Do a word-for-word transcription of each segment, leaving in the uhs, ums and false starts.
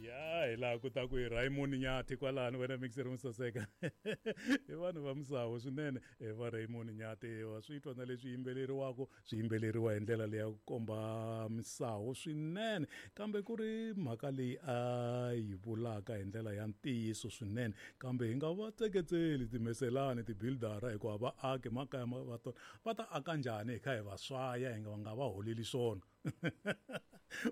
Ya hi laha ku ta ku hi Raymond Nyathi kwalano wena mixer mo saseka. I vanhu va misawu swinene va Raymond Nyathi, wa swi twa na leswi yimbeleriwaka swi yimbeleriwa hi ndlela leyi ya ku komba misawu swinene, kambe ku ri mhaka leyi a yi vulaka hi ndlela ya ntiyiso swinene. Kambe hi nga va tseketseli timeselani tibuildara hikuva va aki makaya va tona va ta aka njhani hi kha hi va swaya hi nga va nga va holeli swona.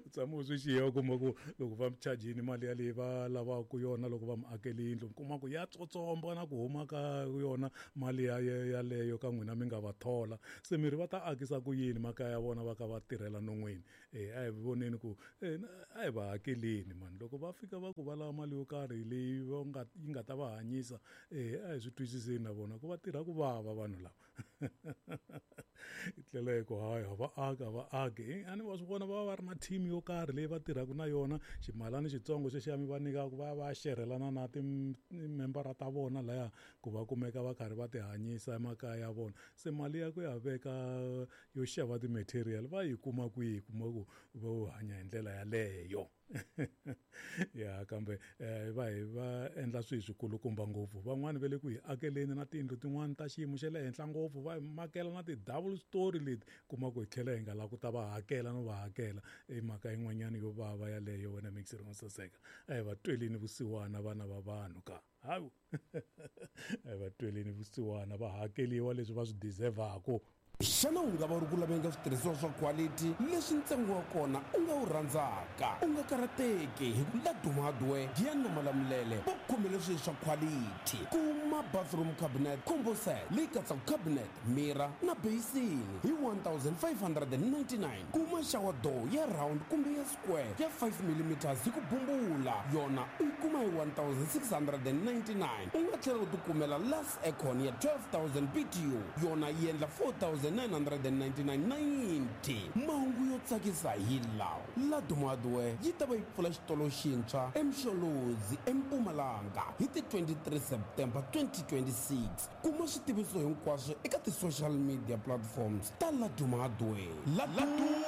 U tshama u swi xiya u kuma ku loko va chajini mali yaleyi va lavaka yona loko va mi akele yindlu, mi kuma ku ya tsotsomba na ku huma ka yona mali ya yaleyo ka n'wina mi nga va thola. Se miri va ta akisa ku yini makaya ya vona va ka va tirhela non'wini? E a hi voneni ku a hi va hakeleni mani, loko va fika va ku va lava mali yo karhi leyi va nga yi nga ta va hanyisa, e a hi swi twisiseni na vona ku va tirha ku vava vanhu lava. Hi tlhela hi ku hayi a va aki a va aki, a ni wa swi vona va va va ri na team yo karhi leyi va tirhaka na yona, ximalani xitsongo xexiya mi va nyikaka va ya va ya xerhelana na timembara ta vona laya ku va kumeka va karhi va ti hanyisa emakaya ya vona. Se mali ya ku ya veka yo xava ti-material va yi kuma kwihi, kuma ku vo hanya hi ndlela yaleyo. Ya kambe va hi va endla swilo swikulukumba ngopfu, van'wani va le ku hi akeleni na tiyindlu tin'wani ta xiyimo xa le henhla ngopfu, va hi makela na ti-double story leti kuma ku hi tlhela hi nga lavi ku ta va hakela no va hakela. I mhaka yin'wanyana yo vava yaleyo wena mixer mo saseka. A hi va tweleni vusiwana vana va vanhu ka hawu, a hi va tweleni vusiwana va hakeliwa leswi va swi deserve-aku. Xana u nga va u ri ku laveni ka switirhisiwa swa quality leswi ntsengo wa kona u nga wu rhandzaka? U nga karhateki hi ku Laduma Hardware Giyani na Malamulele va khomele swilo swa quality. Kuma bathroom cabinet combo set leyi katsaka cabinet, mirror na basin hi one thousand five hundred and ninety-nine. Kuma shower door ya round kumbe ya square ya five millimeters hi ku bumbula, yona u yi kuma hi one thousand six hundred and ninety-nine. U nga tlhela u tikumela last aircon ya twelve thousand B T U, yona yi endla four thousand nine hundred and ninety-nine ninety. Mahungu yo tsakisa hi lawa: Laduma Hardware yi ta va yi pfula xitolo xintshwa eMsholozi eMpumalanga hi ti twenty-three September twenty twenty-six. Kuma switiviso hinkwaswo eka ti-social media platforms ta Laduma Hardware. Laduma,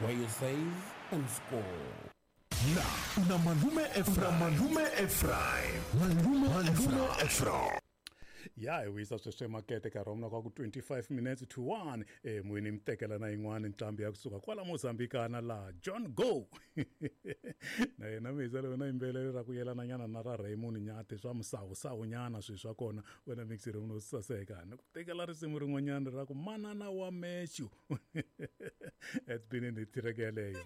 where you save and score. Na una Malume Ephraim, Malume Ephraim, Malume Ephraim. Ya hi wisa sweswo emakete nkarhi wa mina kwa ku twenty-five minutes to one. E mwini mi tekela na yin'wana nqambi ya kusuka kwala Mozambikana laha John Go. Na yena mi hisa wena yimbelelo ra ku yelana nyana na ra Raymond Nyathi swa musawusawu nyana swilo swa kona wena mixer no saseka. Ni ku tekela risimu rin'wanyana ra ku manana wa Meshu. It's been in the track yaleyo.